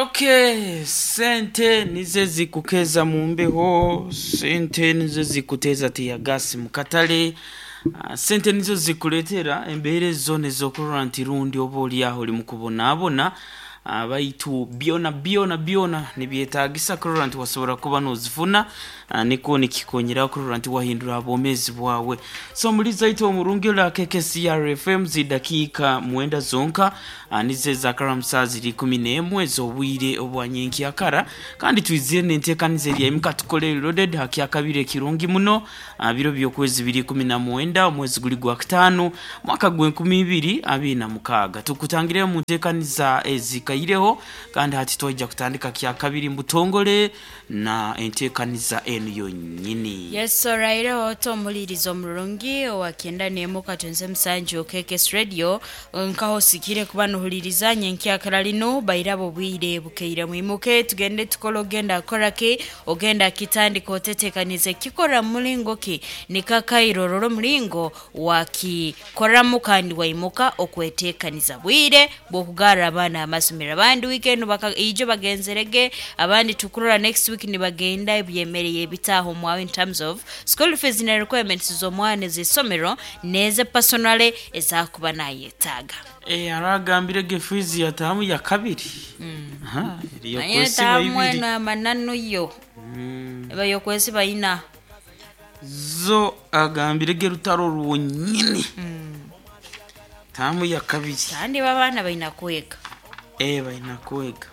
Okay, sente nizo zikukeza mu mbeho, sente nizo zikuteeza tiyagasi mu katale, sente nizo zikuleetera embeera ezo ez'okurora nti rundi oba oli aho oli mukubonaabona, baitu byona byona byona nibyetaagisa kurora nti wasobora kuba noozifuna, nikwo nikikonyeraho kurora nti wahindura ha bwomeezi bwawe. So muliza itwe omurungi ora KKCR FM zidakiika mwenda zonka, nizo ezakara saa ziri 11 ez'obwire obwa nyenkyakara, kandi twizire n'enteekaniza eri emuka tukole loaded ha kyakabiri ekirungi muno, biro by'okwezi biri 19 omwezi guli gwa kutaano mwaka gw'enkumi ibiri abiri na mukaaga. Tukutangireyo mu nteekaniza ezikaireho kandi hati twaija kutandika kyakabiri mbutongole na enteekaniza enu yonyini. Yes, oraireho ota omuhuririza omurungi owa kyenda n'emwe katonze musanju KKS Radio, nkaho osikire kuba nohuririza nyenkyakara linu bairaba obwire bukeire mwimuke tugende tukole ogenda kukora ki ogenda kitandika otetekanize kikora mulingo ki nikakairo orora omulingo wakikoramu kandi waimuka okwetekaniza bwire bw'okugarra abaana amasomero abandi weekend ijo bagenzerege abandi tukurora next week nibagenda ebyemereye ebitaaho omwawe in terms of school fees na requirements z'omwana ez'isomero n'eze personally ezakuba nayetaaga. Aragambire ge fiizi yataamu ya kabiri. Aha, eri Naye yokwesiba taamu ibiri. eno amananu yo eba yokwesiba ina. Zo agambire ge rutaro rwonyini. Taamu ya kabiri. Kandi babaana baina kwega. Baina kwega.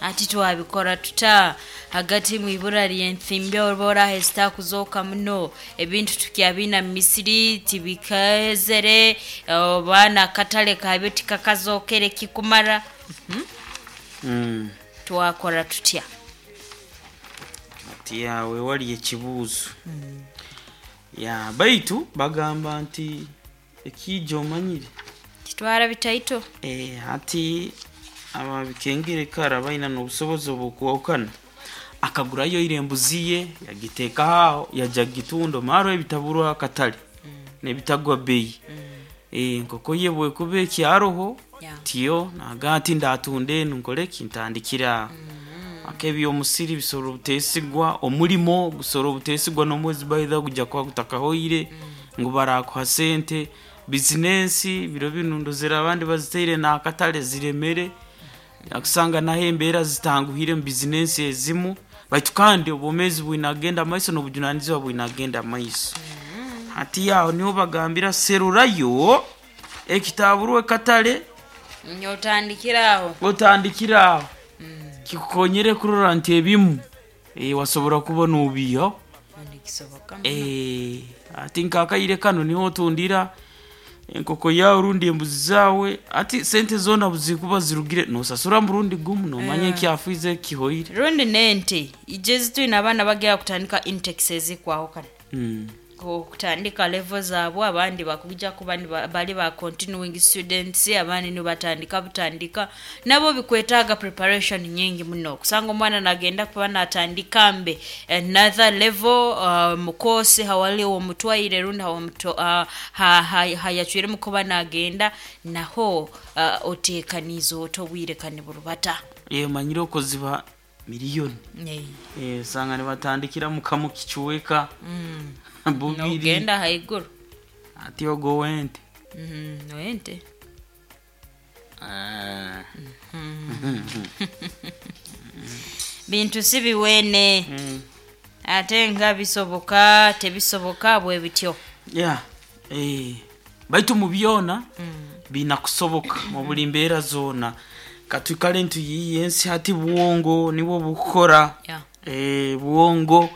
Ati twabikora tuta hagati mwibura ly'enthimbi oba oraha ezitaakuzooka muno ebintu tukyabina mu misiri tibikaezere oba nakatale kabyo tikakazookere kikumara. Twakora tutya? Ati yawe wali ekibuuzo. Ya baitu bagamba nti ekiija omanyire. Titwara bitaito. Hati ababikengere kara baina n'obusobozi obw'okwahukana. Akagurayo ira embuzi ye yagiteeka aho yajya gitunda maro ebitaburwa akatale n'ebitagwa bei. Enkoko ye bwekuba ekyaroho tiyo naga ati ndatunda enu nkore ki ntandikire aho. Ak'ebyomusiri bisobora obuteesigwa, omulimo gusobora obuteesigwa n'omwezi baitha gujya kuba gutakahoire ngu barakuha sente, bizinensi biro binu ndozere abandi baziteire n'akatale ziremere, akusanga naho embeera zitanguhire mu bizinensi ezimu, baitu kandi obwomeezi bwine kugenda mumaiso n'obujunanizibwa bwine kugenda mumaiso. Hati aho niho bagambira serurayo ekitaburwa ekatale Otandikire aho. otandikire aho kikukonyere kurora nti ebimu, wasobora kuba noobiihaho. Nikisoboka muno. Ati nk'akaire kanu niho otundira enkoko yaawe rundi embuzi zaawe, ati sente zoona buzikuba zirugire noosasura murundi gumu noomanya ekyafiize kihoire. Rundi n'ente ijo ezi twine abaana bagenda kutandika intakes ezikwahukana. Okutandika level zaabwe abandi bakujja kuba bali ba continuing students abandi nibatandika butandika nabo bikwetaaga preparation nyingi muno kusanga omwana nagenda kuba natandika mbe another level, mu course hawali omutwaire rundi hayacwiremu kuba nagenda naho, oteekaniize ota obwire kani burubata. Omanyire okuziba miliyoni. Osanga nibatandikira mu kamu kichweka bubiri. Nogenda haiguru. Ati ogwo wente. Wente. Bintu si biweene. Ate nga bisoboka tebisoboka bwe bityo. Yeah. Baitu mu byona biina kusoboka mu buli mbeera zoona. Katwikale nituyiiya ensi hati bwongo nibwo bukukora. Bwongo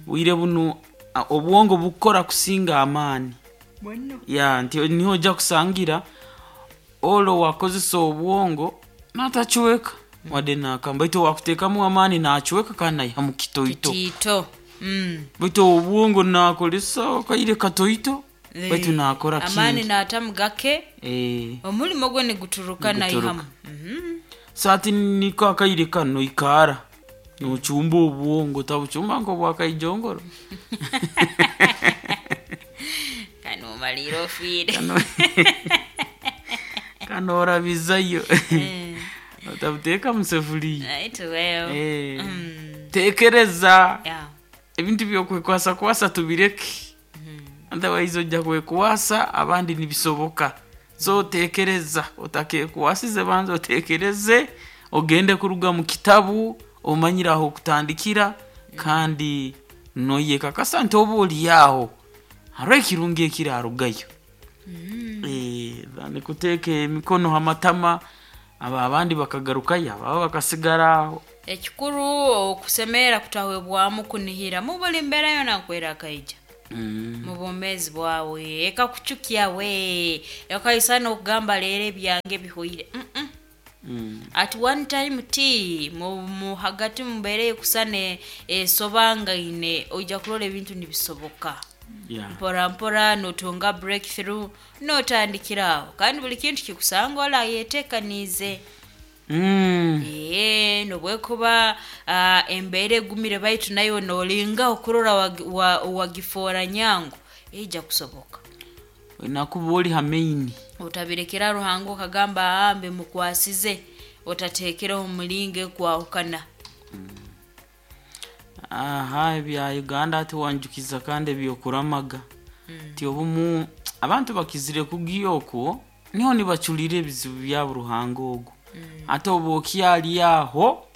bwire bunu obwongo bukukora kusinga amaani. Ya nti niho ojja kusangira olo wakozesa obwongo natachweka wadde nakamba baitu wakuteekamu amaani naachweka kandi naihamu kitoito. Kitiito. Baitu obwongo naakozesa akaire katoito baitu naakora Amaani kingi. naatamu gake omulimo gwe niguturuka naihamu. So hati niko akaire kanu noikara nochumba obwongo tabuchumba nk'obwakaijongoro. Kani omaliire ofiire. Norabizayo. Eh. Otabuteeka mu sefuliya. Right, well. Eh. Tekereza. Yeah. Ebintu byokwekwasa kwasa tubireke, otherwise ojja kwekwasa abandi nibisoboka. So tekereza, otakekwasize, banza otekereze, ogende kuruga mu kitabu omanyire aho okutandikira, kandi noyekakasa nti oba oli aho hariho ekirungi ekirarugayo. Eh, than kuteeka emikono ha matama, abo abandi bakagarukayo, ababo bakasigara aho. Ekikuru okusemerera kutahwebwamu kunihira mu buli mbeera yona nkwera akaija mu bwomeezi bwawe, ekakucukya we ekaisana okugamba leero ebyange bihwaire. Mm-mm. At one time ti mu hagati mumbeera ekusana esobangaine, oija kurora ebintu nibisoboka mpora mpora, notunga breakthrough, notandikira aho, kandi buli kintu kikusanga olayetekaniize. Ee, nobwekuba embeera egumire, baitu nayo nolinga okurora wagifoora nyangu, eija kusoboka. Nakuba oli ha maini. Otabirekera Ruhanga okagamba aambe mukwasize, otatekereho omulingo ekwahukana. Aha, ebya Uganda ati wanjukiza, kandi ebyokuramaga ti obumu abantu bakizire kugiya okwo niho nibaculira ebizibu byabo Ruhanga ogu. Ate oba okyali aho,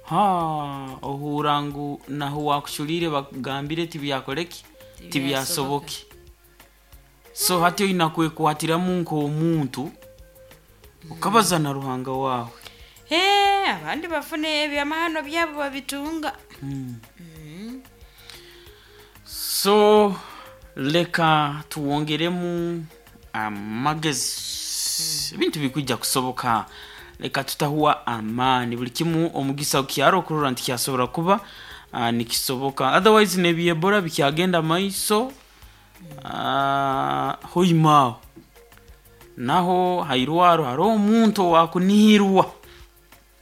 ha ohura ngu naho wakuculire bakugambire tibyakoreki, tibyasoboke. So hati oina kwekwatiramu nk'omuntu, okabaza na Ruhanga wawe. Ee, abandi bafuna ebyamahano byabo babitunga. So leka tuwongeremu amagezi, ebintu bikwijja kusoboka. Leka tutahuwa amaani, buli kimu omugisa gukyaro okurora nti kyasobora kuba nikisoboka. Otherwise nebyebora bikyagenda maiso. Hoima aho naho hairwaro hariho omuntu owakunihirwa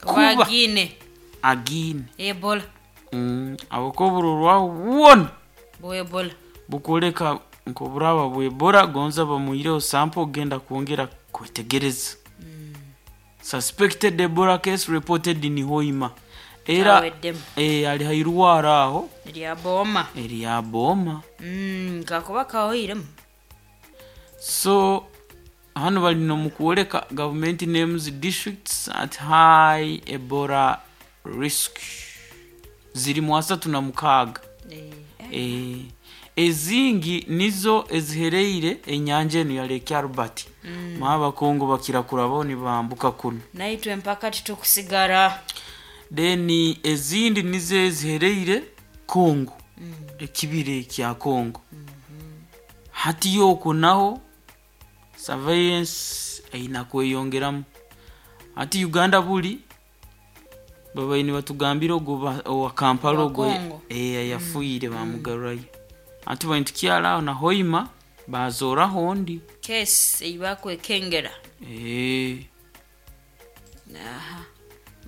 kuba kuba agiine agiine ebola. Ahabwokuba oburorwaho bwona bwa ebola bukwoleka nk'oburaba bwebora, gonza bamwireho sample ogenda kwongera kwetegereza. Suspected Ebola case reported in Hoima. Era Aweddemu. Ali hairwaro aho erya booma. Erya booma. Kakuba kahoiremu. So hano bali nomukwoleka government names districts at high Ebola risk ziri mu 36. Ezingi nizo ezihereire enyanja enu ya Lake Albert. Abakongo bakira kurabaho nibambuka kuno. Naitwe mpaka titukusigara. Then ezindi nizo ezihereire Congo, ekibira kya Congo. Hati yokwo naho surveillance eina kweyongeramu. Hati Uganda buli babaire nibatugambira ogwo owa Kampala Owa ogwo Congo. Yafuire bamugarurayo. Hati bali tukyara aho na Hoima bazoraho ondi kesi eibakwekengera. Aha,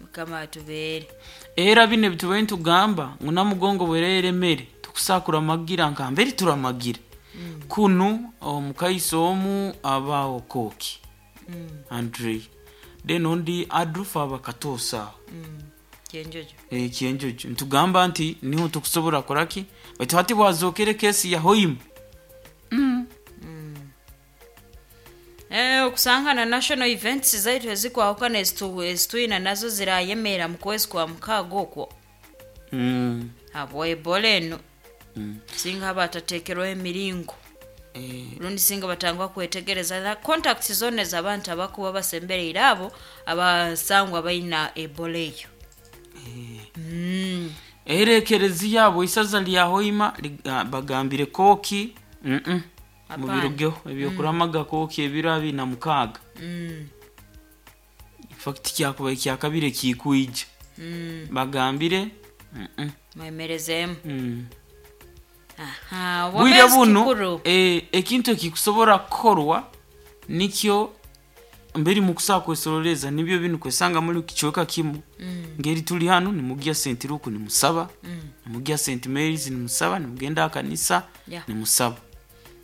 Mukama atubeere. Era bino ebitubaire nitugamba ngu Namugongo bwerere emere tukusakura magira nka mbere turamagira kunu omukaiso omu abaho Koki Andre, then ondi Adrufa aba Katosa aho. Kyenjojo. Kyenjojo nitugamba nti niho tukusobora koraki, baitu hati bwazokere kesi ya Hoima. Okusanga na national events zaitu ezikwahukana ezitwina nazo zirayemera mu kwezi kwa mukaaga okwo habwa ebola eno. Singa batatekerwaho emiringo rundi singa batangwa kwetegereza na contacts zona ez'abantu abakuba basembereire abo abasangwa baina ebola eyo. Era ekereziya yabo isaza lya Hoima bagambire Koki Hapana. Mubirugeho ebyokuramaga Koki ebiro 26. Infact kyakuba ekyakabiri ekikwija bagambire Mwemerezemu. Aha, Bwire obwomeezi buno kikuru. ekintu ekikusobora kukorwa nikyo mberi mukusaa kwesoroleza nibyo binu kwesanga muri kicweka kimu. Ngeri tuli hano nimugya St Luke nimusaba, nimugya St Mary's nimusaba, nimugenda akanisa nimusaba.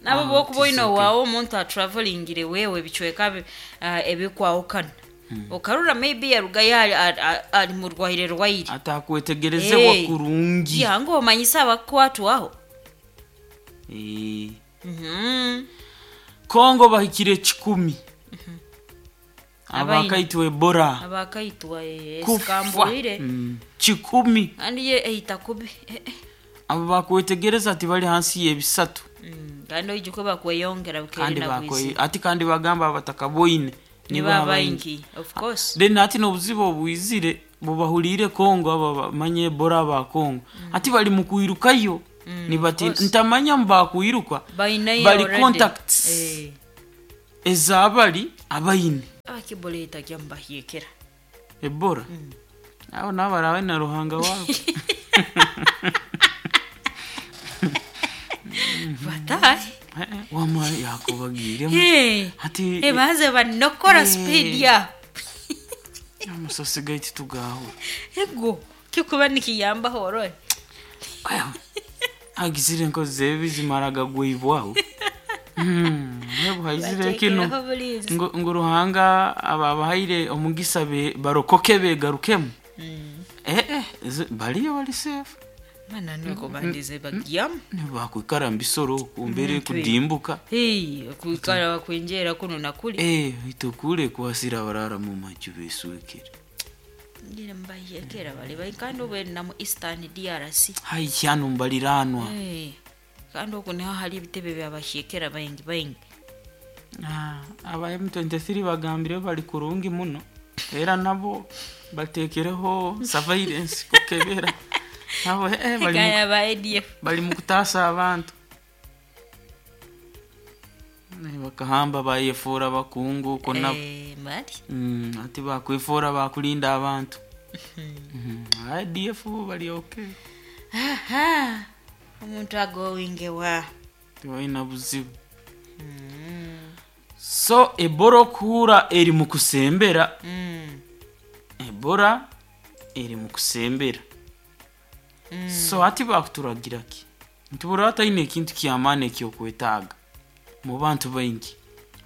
Nabo Ah, bwokuba oine tisoke. owaawe omuntu atravelingire wewe ebicweka ebikwahukana, okarora maybe yarugayo ali murwaire rwaire, atakwetegerezebwa Eh. kurungi. Yange omanyise abakukwatwaho. Eh. Kongo bahikire 1,000 Abaine. abakaitwa Ebola. Abakaitwa Kufa. sikambwire. 1,000. Kandi ye eita kubi. Abo bakwetegereza ati bali hansi y'ebisatu. Kandi oijuke bakweyongera Kandi bukeeri bakwe na ati kandi bagamba abatakaboine niba abaingi, of course. Then ati n'obuzibu obwizire bubahuriire Kongo, abo bamanye Ebola aba Kongo ati bali mu kwirukayo, nibati Course. ntamanya mbakwiruka bainayo bali already. contacts ezabali abaine. Abakibola etajya mubahyekera. Ebola abo nabo barabe na Ruhanga wabo. Batahe. Wama yakubagiremu ati Baze banokora speed ya amasasi gaitu tugaho. Ego kikuba nikiyambaho orore. Agizire enkozi zebi zimaraga gwibwaho. Haizire kino Batekereho bulinzi. Ngo Ruhanga ababahaire omugisa barokoke begarukemu. Baliyo bali safe. Mana nuko bandize bagyamu. Nibakwikara mbisoro kumbere kudimbuka. Hey, kwikara bakwenjera kuno nakuli. Itukule kuhasira barara mu maju beswekere. Ndire mbahyekera bali bali kandi obwe na mu Eastern DRC. Hai kyano mbaliranwa. Kandi oku niho hari ebitebe byabahyekera baingi baingi. Aba M23 bagambire bali kurungi muno, era nabo batekereho surveillance kukebera nabo bali Kaya ba ADF. Bali mu kutaasa abantu. Bakahamba bayefuura bakungu kona. Mali. Ati bakwefuura bakulinda abantu. ADF bali okay. Aha, omuntu agowinge wa Tebalina buzibu. So Ebola okuhura eri mu kusembera. Ebola eri mu kusembera. So ati bakuturagira ki nti buri ataine ekintu kyamaani ekyokwetaaga mu bantu baingi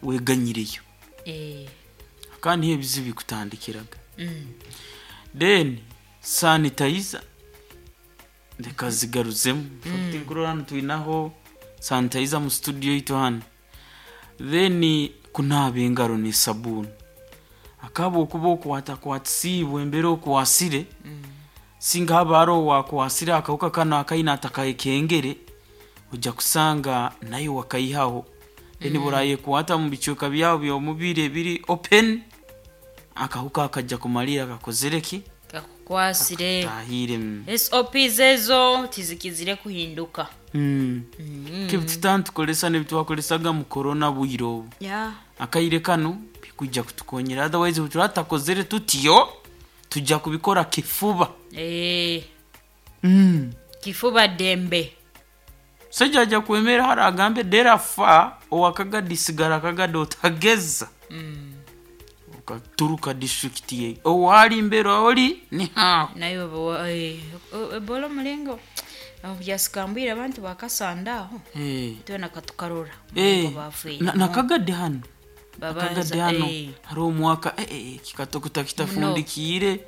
weganyireyo. Kandi niho ebizibu bikutandikiraga. Then sanitizer reka zigaruzemu. Fact nkurora hano twinaho sanitizer mu studio yitu hano. Then kunaaba engaro n'esabuuni, akaba okuba okwatakwatisiibwe embera okwasire, singa haba hariho wakwasire akahuka kano akaine atakayekengere, ojja kusanga nayo wakaihaho. Then burayekwata mu bicweka byabo by'omubiri ebiri open, akahuka akajja kumalira kakozere ki? Kakukwasire. Tahire. SOPs ezo tizikizire kuhinduka. Kebitutanu tukolesa nebitwakolesaga mu corona bwire obu. Akaire kano bikujja kutukonyera, otherwise bwe tutakozere tutyo tujja kubikora kifuba. Kifuba dembe. Sajja ajja kwemera hari agambe dera fa owakagadi sigara akagadi otageza. Okaturuka district ye owali mbera oli ni haho. Nayo Ebola omulingo byasikambwire abantu bakasanda aho. Twena katukarora omulingo bafiire. Nakagadi hano Babanza, akagadi hano hari omwaka kikatokota kitafundikiire.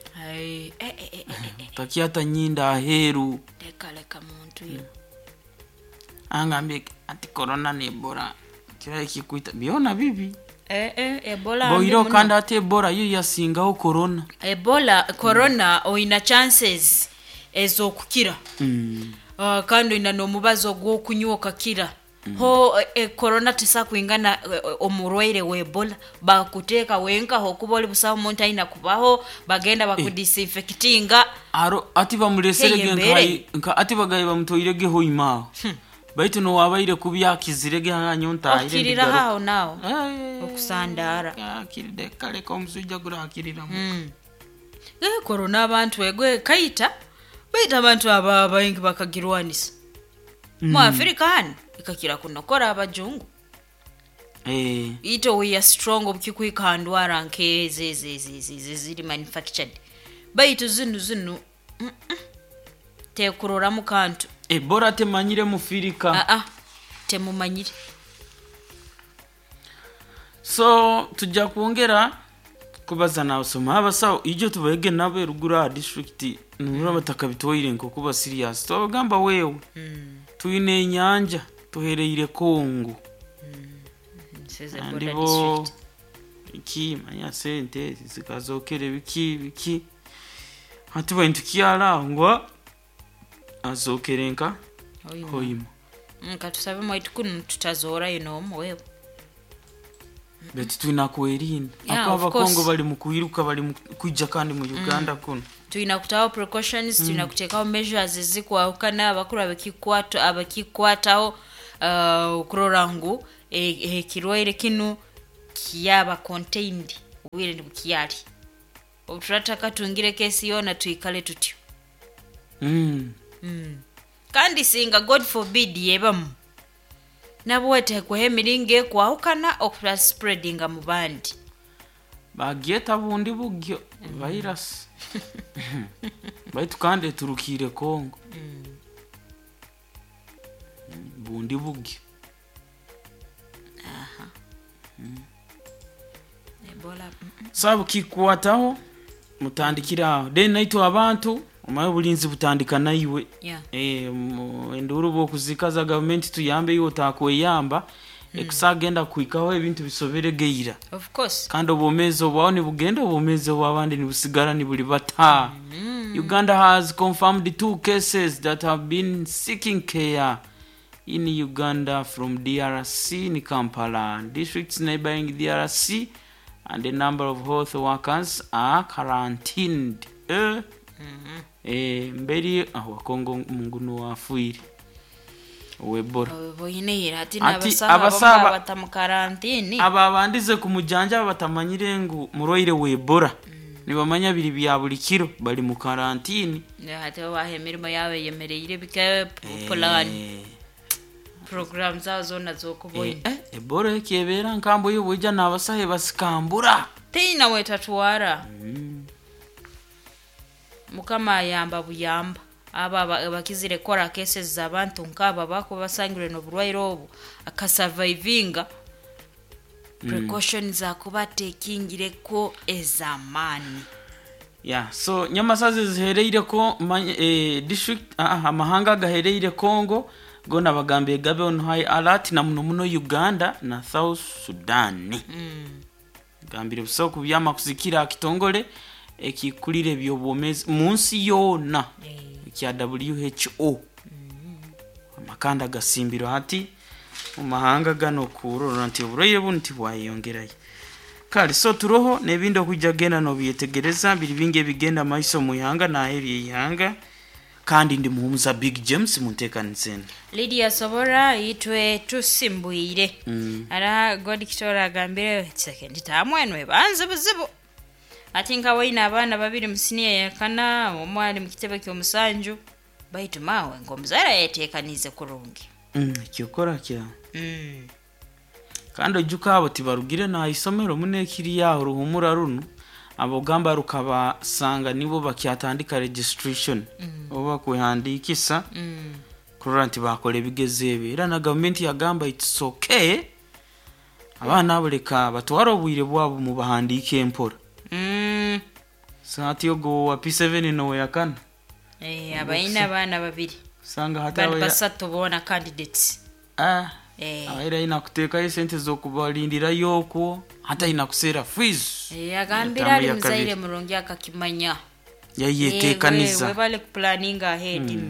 Takyata nyinda aheeru. Leka leka muntu yo. Angambye ati corona ne Ebola kirayi kikuita byona bibi. Ebola boiro mbi muno. Kandi ate Ebola yo yasingaho corona. Ebola corona oyina chances ez'okukira. Kandi oyina n'omubazi ogw'okunywa okakira. Ho corona tesakwingana omurwaire wa Ebola bakuteeka wenkaho okuba oli busaho omuntu ayina kubaho bagenda bakudisinfectinga. Aro ati bamuleserege Hey, embere. Nka ati bagaye bamutoirege hoimaaho baitu nowabaire kubyakizirege hanyo ntahire. Okirira haho naho okusandara. Akiride kaleka omusujja gurakiriramu. Corona abantu egwe kaita baita abantu aba baingi bakagirwanisa mu Afrika hano ikakira kunokora abajungu. Ito we are strong obukikwika ndwara nk'ezi ezi ezi ezi ezi ziri manufactured baitu zinu zinu tekuroramu kantu. Ebola temanyire mufirika. Aa, temumanyire. So tujja kwongera kubaza nabasoma abasawo ijo tubaege nabo eruguru aha district nuraba batakabitwaire nkokuba serious. Twabagamba wewe twine enyanja tuhereire Kongo. Nsize Andi border bo district. Iki manya sente zikazokere biki biki hati baintu kyala ngo azokere nka Hoima. Hoima. Katusabe mwaitu kunu tutazoorayo n'omu wewe. Betu twina kwerinda. Yeah, Ako of abakongo course. bali mu kwiruka bali mu kwijja kandi mu Uganda kuno. Tulina kutaho precautions, tulina kuteekawo measures ezikwawukana abakuru abakikwataho okurora ngu ekirwaire kinu kyaba contained obwire nibukyali. Obuturataka tungire kesi yoona twikale tutyo. Kandi singa God forbid yebamu nabwo wetekweho emiringo ekwahukana okura spreadinga mu bandi. Bagyeta bundi bugyo virus. Baitu kandi eturukiire Kongo. Bundi bugyo. Ebola. Sabu kikwataho mutandikira aho then naitwe abantu omaye obulinzi butandika naiwe. Yeah. Enduru bwokuzikaza gavumenti tuyambe iwe otakweyamba ekusagenda kuhikaho ebintu bisobere geira. Of course. Kandi obwomezi obwaho nibugenda obwomezi obw'abandi nibusigara nibuli bata. Uganda has confirmed 2 cases that have been seeking care in Uganda from DRC in Kampala districts neighboring DRC, and a number of health workers are quarantined. Mberi aho Kongo munguno wafuire owebora. Boyine ati Ati n'abasaha abasaba- bamwe bata mu karantini. Aba bandize kumujanja batamanyire ngu murwaire w'Ebola. Nibamanya biri bya buli kiro bali mu karantini. Ate babaha emirimo yaabo eyemereire bika plan program zabo zoona z'okuboina. Ebola ekyebera nkambo y'obwija n'abasahe basikambura. Teina wetatwara. Mukama ayamba buyamba. Aba abakizire kora cases z'abantu nk'aba bakuba basangirwe n'oburwaire obu akasurvivinga. Precautions akuba tekingireko ez'amaani. Yeah, so nyamasazi zihereire ko district amahanga gahereire Congo gona bagambiye gabe on high alert na muno muno Uganda na South Sudan. Gambire buso kubyama kuzikira kitongole ekikulire byobwomezi munsi yona kya WHO. Amakanda gasimbiro hati mu mahanga gano kurora nti oburwaire buno tibwayongerayo. Kale so turoho n'ebindi okujja genda n'obyetegereza biri bingi ebigenda maiso mu ihanga n'aheru y'ihanga. Kandi ndi muhumuza Big James munteekaniseni. Lydia Sobora itwe tusimbwire. Ara God Kitora agambire second tamwenwe banze buzibu. Ati nka waina abaana babiri mu siniya ya kana omwe ali mu kitebe ky'omusanju baitu mawe ng'omuzaire yeteekanize kurungi. Kyokora kya. Kandi ojuka abo tibarugire na isomero munekiri yaho ruhumura runo abogamba rukabasanga nibo bakyatandika registration oba kwehandikisa kurora nti bakora ebigezo ebyo. Era na gavumenti yagamba it's okay abaana abo leka batware obwire bwabo mubahandiike empora. Saati ogo wa P7 nowe yakana. Abaina abaana babiri. Sanga hata Bali basatu boona candidates. Abaira ina kuteekayo sente z'okubalindirayo okwo hata ina kuseera fees. Agambira ali muzaire murungi akakimanya. Yayeteekaniza. Webale kuplanninga ahead.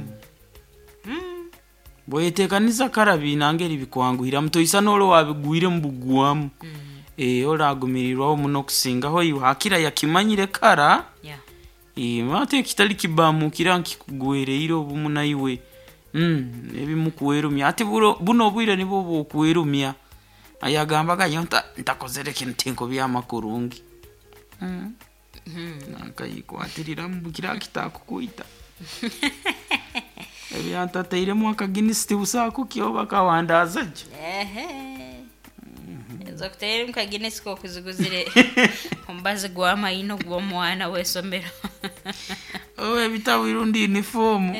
Bweyeteekaniza karabi nangeri bikwanguhira mutoisa n'olwo wabigwire mu bugwamu. Oragumirirwaho muno kusingaho iwe hakira yakimanyire kara. Ate ekitali kibamukira nkikugwereire obumu naiwe. Ebimukuwerumya ati buno obwire nibwo bwokwerumya. Ayagambaga nyo ntakozere kintu tinko byamakurungi. Nakayikwatirira mubukira kitakukuita. Ebyantateiremu akaginisi tibusakukyo bakawandaza gye. Ezokuteiremu kaginisi kokuziguzire omubazi gw'amaino gw'omwana w'esomero. Ebitabo irundi uniform.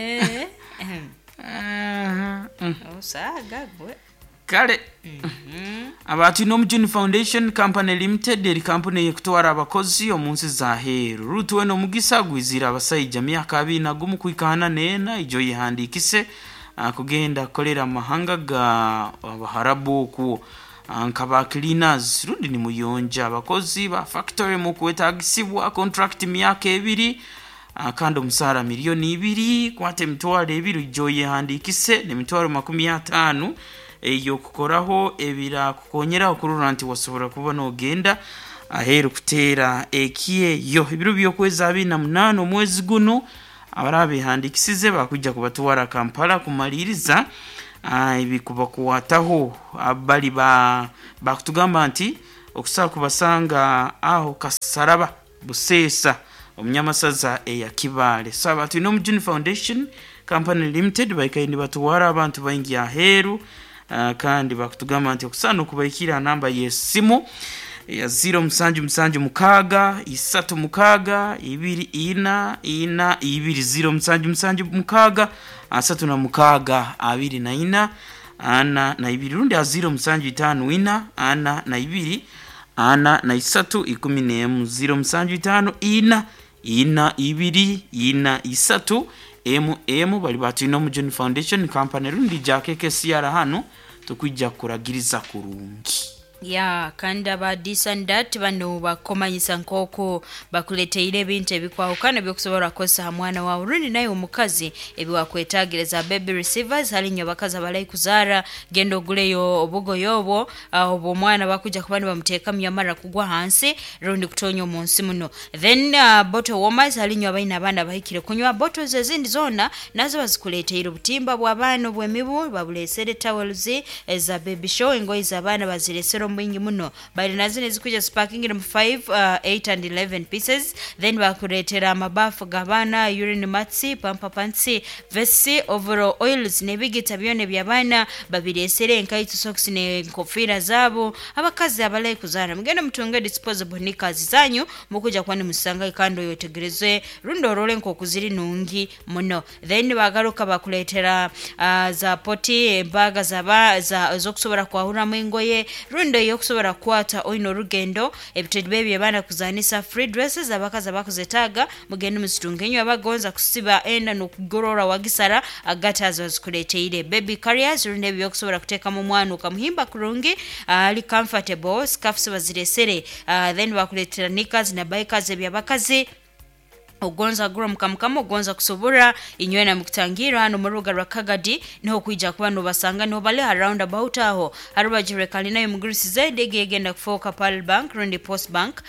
Osaaga gwe. Kale. Abatwine Omujuni Foundation Company Limited eri kampuni eyekutwara abakozi omu nsi za heeru. Rutuwe n'omugisa gwizire abasaija myaka 21 kuhika 44 ijo yehandikise kugenda kukolera amahanga ga Abaharabu okwo nka ba cleaners rundi ni muyonja abakozi ba factory mu kwetagisibwa contract myaka 2, kandi omusaara 2 miliyoni kwata 20,000 ijo yehandikise n'emitwaro 50 eyokukoraho ebirakukonyera okurora nti wasobora kuba nogenda aheeru kuteera ekyeyo. Ebiro by'okwezi 28 omwezi guno abarabehandikisize bakujja kubatwara Kampala kumaliriza ebikubakwataho. Bali bakutugamba nti okusobola kubasanga aho Kasaraba Buseesa omunyamasaza eya Kibaale. So abatwine Omujuni Foundation Company Limited baikaire nibatwara abantu baingi aheeru, kandi bakutugamba nti okusaana okubaikira namba y'esimu ya 0776 36 24 42, 0776 36 24 42, rundi a 0754 42 43 11, 0754 4 2 4 3 mm. Bali batwine Omujuni Foundation Company rundi jakekesiyara hano tukwijja kuragiriza kurungi. Ya, kandi aba this and that bano bakomanyisa nk'oku bakuleteire ebintu ebikwahukana ebyokusobola kukozesa ha mwana wawe rundi naye omukazi ebiwakwetagiriza. Baby receivers hali nyo abakazi abalai kuzaara, genda oguleyo obugoye obwo, obwo omwana bakujja kuba nibamuteekamu yamara kugwa hansi rundi kutonya omu nsi muno. Then bottle warmers hali nyo abaine abaana bahikire kunywa. Bottles ezindi zoona nazo bazikuleteire, obutimba bw'abaana obw'emibu babulesere, towels eza baby show, engoye z'abaana baziresere omu bwingi muno. Bali nazo nezikuja zipakingire mu 5, 8 and 11 pieces. Then bakuleetera amabafu g'abaana, urine mats, pamper pants, vests, overall oils n'ebigita byona eby'abaana babiresere, enkaito, socks n'enkofiira zaabo. Abakazi abalai kuzaara, mugende mutunge disposable knickers zanyu, mukuja kuba nimusanga kandi oyetegereze rundi orole nk'oku ziri nungi muno. Then bagaruka bakuleetera za poti embaga zaba za ez'okusobora kwahuramu engoye rundi eyokusobora kukwata oine orugendo, ebitebe by'abaana kuzanisa, free dresses abakazi abakuzetaaga, mugende muzitunge. Inywe abagonza kusiba enda n'okugorora wagisara, agatazi bazikuleteire. Baby carriers rundi ebyo byokusobora kuteekamu omwana okamuhimba kurungi ali comfortable, scarfs baziresere. Then bakuleetera knickers na bikers eby'abakazi. Ogonza gura mukamukama, ogonza kusobora inywena mukutangira hano mu rubuga rwa Kagadi niho kwija kuba nobasanga, niho bali ha roundabout aho harubajire kalina mugurisi zed egenda kufoka Pearl Bank rundi Post Bank,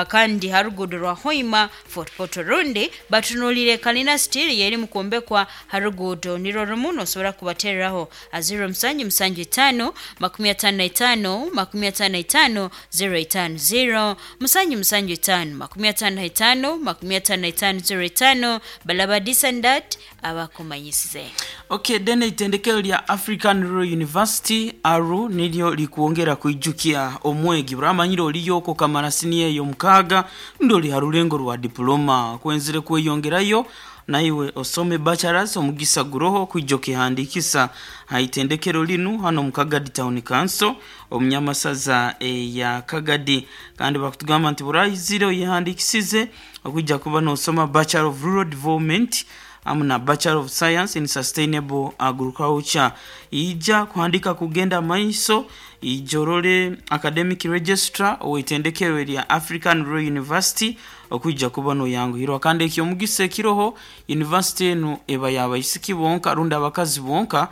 kandi harugudo rwa Hoima Fort Portal rundi batunulire kalina steel yeri mukuombekwa harugudo niro rumu. Nosobora kubatereraho a 0775 55 55 050, 775 55 55 05. Balaba this and that abakumanyisize. Okay, then itendekero lya African Rural University ARU niryo likuongera kuijukia omwegi buramanyire oliyoko kamara siniya eyo 6 ndo oli harulengo rwa diploma kwenzire kweyongerayo naiwe osome bachelors, omugisa guroho kwijo kihandikisa haitendekero linu hano mu Kagadi Town Council omunyamasaza ya Kagadi. Kandi bakutugamba nti burayizire oyihandikisize okujja kuba nosoma Bachelor of Rural Development amu na Bachelor of Science in Sustainable Agriculture, ija kuhandika kugenda maiso ijorole academic registrar owitendekero lya African Rural University okujja kuba noyanguhirwa. Kandi ekyomugisa ekiroho, university enu eba yabaisiki bonka rundi abakazi bonka,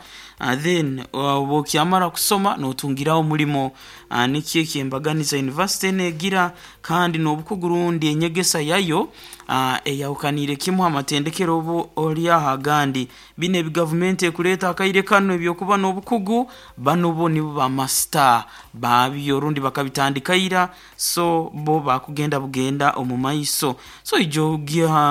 then bwokyamara kusoma notungiraho omulimo. Nikyo ekyembaganiza university enu egira, kandi n'obukugu rundi enyegesa yayo eyahukaniire kimu amatendekero obu oli aho agandi. Bino ebi gavumenti ekuleeta akaire kano ebyokuba n'obukugu, bano bo nibo bamasita babyo rundi bakabitandika ira, so bo bakugenda bugenda omu maiso. So ijo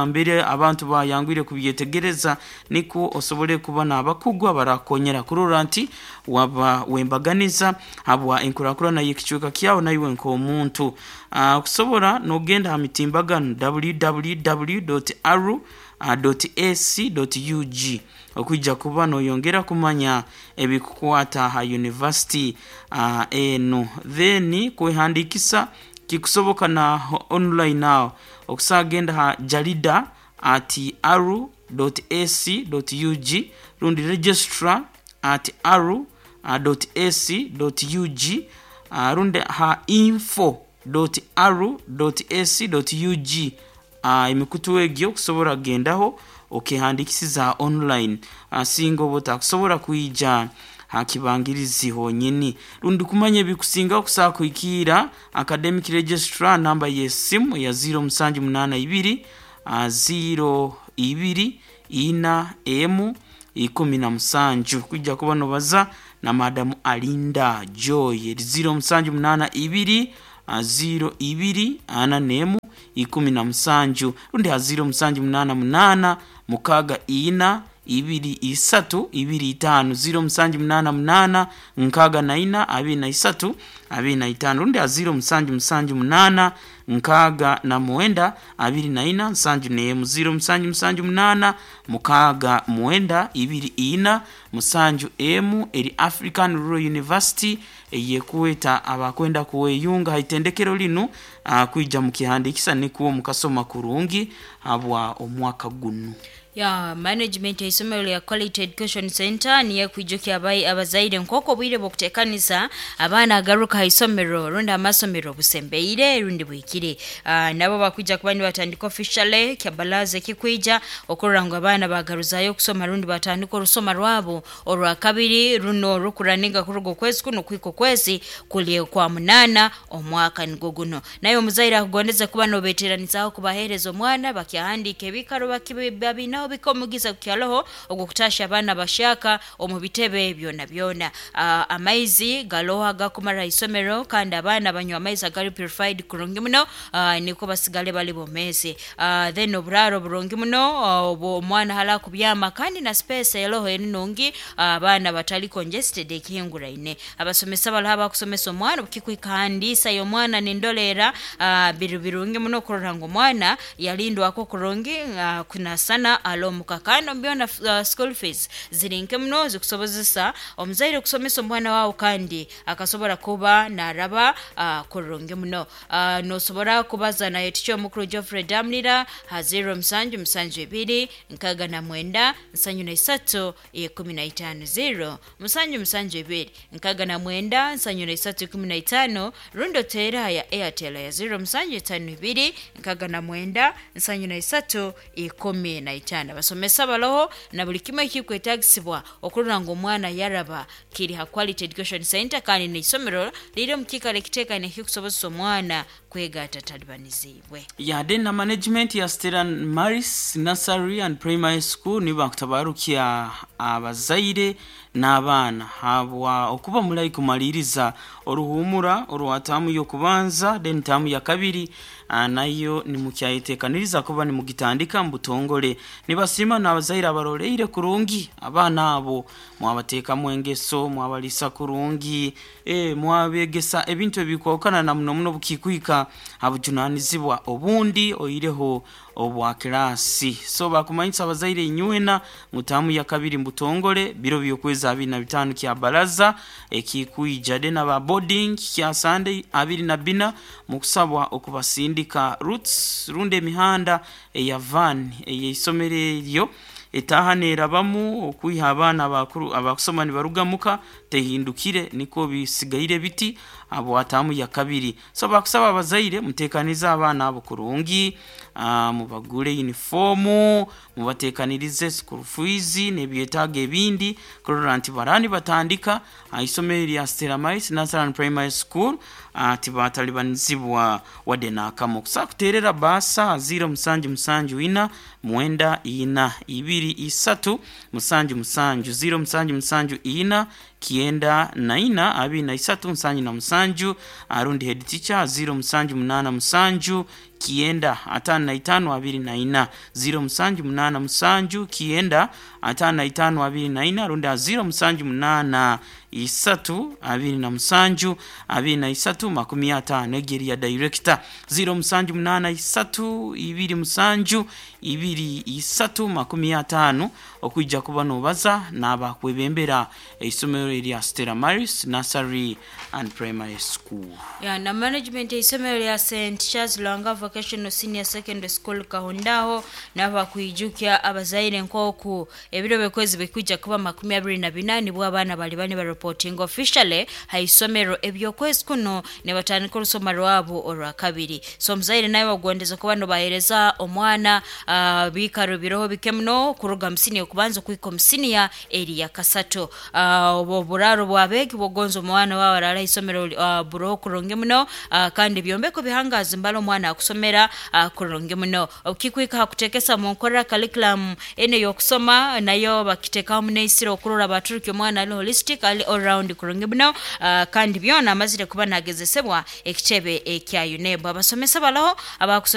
mbere abantu bayangwire kubyetegereza nikwo osobole kuba n'abakugu abarakonyera kurora nti Waba wembaganiza habwa enkurakurana y'ekicweka kyawe naiwe nk'omuntu. Kusobora nogenda ha mitimbagano www.aru.ac.ug okwija kuba noyongera kumanya ebikukwata ha university enu. Then kwehandikisa kikusoboka na online aho okusagenda ha jarida at aru.ac.ug rundi registrar at aru.ac.ug, rundi ha info.aru.ac.ug. Emikutu egyo kusobora kugendaho okehandikisiza online, singa oba otakusobora kwija ha kibangirizi honyini. Rundi kumanya ebikusingaho kusobola kuhikiira academic registrar, namba y'esimu ya 0782 02 4 M17, kwijja kuba nobaza na madamu Alinda Joy, 0782 02 4 M17, rundi ha 0788 6 4 2 3 25, 0788 64 23 25, rundi ha 0778 69 24 71, 0778 69 24 7 M. Eri African Rural University eyekuweta abakwenda kuweyunga haitendekero linu, kwija mukihandikisa nikuwo mukasoma kurungi habwa omwaka gunu. Ya management ya isomero lya Quality Education Center niye kwijukya abai abazaire nkoko obwire bw'okuteekanisa abaana agaruka ha isomero rundi amasomero busembeire rundi bwikire. Nabo bakwija kuba nibatandika officially kyabalaza ekikwija okurora ngu abaana bagaruzayo okusoma rundi batandika orusoma rwabo orwa kabiri runo rukuraninga kuruga okwezi kuno kwika okwezi kuli kwa munana omwaka nigwo guno. Naye omuzaire akugondeze kuba nobeteranizaho kubahereza omwana bakyahandika ebikaro babinaho bikomugiza kukyaloho ogwo kutasha abaana bashaka omu bitebe byona byona. Amaizi galoho agakumara isomero kandi abaana banywa amaizi agali purified kurungi muno, niko basigale bali bomezi. Then oburaro burungi muno, obwo omwana hala kubyama kandi na space eloho enungi, abaana batali congested ekihinguraine. Abasomesa baloho abakusomesa omwana obukikwikandisa y'omwana nindolera, biri birungi muno kurora ngu omwana yalindwako kurungi, kunasana alomuka. Kandi byona school fees ziri nke muno zikusobozesa omuzaire kusomesa omwana wawe kandi akasobora kuba naraba kurungi muno. Nosobora kubaza naye ticha omukuru Geoffrey Damlira ha 0772 69 73 15, 0772 69 73 15, rundi oteera ya Airtel ya 0752 69 73 15. Abasomesa baloho na buli kimwe ekikwetagisibwa okurora ngu omwana yaraba kiri ha Quality Education Center kandi n'isomero riri omu kiikaro ekiteekaine ekikusobozesa omwana kwega atatalibanizibwe. Yade na management ya Stella Maris Nursery and Primary School nibakutabarukya abazaire n'abaana habwa okuba mulayi kumaliriza oruhumura orwa taamu y'okubanza, then taamu ya kabiri nayo nimukyayetekaniriza kuba nimugitandika mubutongole. Nibasiima n'abazaire abaroleire kurungi abaana abo, mwabateekamu engeso, mwabalisa kurungi, mwabegesa ebintu ebikwahukana na muno muno bukikwika habujunanizibwa obundi oireho obwa kirasi. So bakumanyisa abazaire inywena ngu taamu ya kabiri mbutongole biro by'okwezi 25 kya baraza ekikwija, then aba boarding kya Sunday 24 mukusabwa okubasindika routes rundi emihanda eya van ey'eisomero eryo etaha nerabamu okwiha abaana abakuru abakusoma nibarugamuka tehindukire, niko bisigaire biti abo atamu ya kabiri. So bakusaba abazaire mutekanize abaana abo kurungi, mubagure uniformu, mubatekanirize school fees n'ebyetaago ebindi kurora nti barani batandika isomero lya Stella Maris Nursery and Primary School, tibatalibanizibwa wadde n'akamu. Kusa kuterera basa 0774 94 23 77, 0774 94 23 77, arundi head teacher 0787 9 55 24, 0787 9 55 24, rundi 0783 27 23 50. Egeri ya director 0783 27 23 50, okwijja kuba nobaza n'abakwebembera eisomero erya Stella Maris Nursery and Primary School. Ya, na management y'isomero lya St Charles Lwanga Vocational Senior Secondary School Kahundaho n'abakwijukya abazaire nk'oku ebiro byokwezi bikwija kuba 24, nibwo abaana bali bani bareporting officially ha isomero. Ebyokwezi kuno nibatandika orusoma rwabo orwa kabiri. So omuzaire nawe bagondeza kuba nobahereza omwana biikaro biroho bike muno kuruga musiniya okubanza okuhika omusiniya eri ya kasatu. Obwo oburaro bwabegi bwogonza omwana wawe arara isomero buroho kurungi muno, kandi byombeko bihangazi mbala omwana akusomera kurungi muno. Okikwika hakutekesa mu nkorera curriculum ene yokusoma nayo bakitekaho muneisiro okurora baturuki omwana ali holistic, ali all round kurungi muno, kandi byona amazire kuba nagezesebwa ekitebe ekya UNEB. Abasomesa balaho abakusomesa.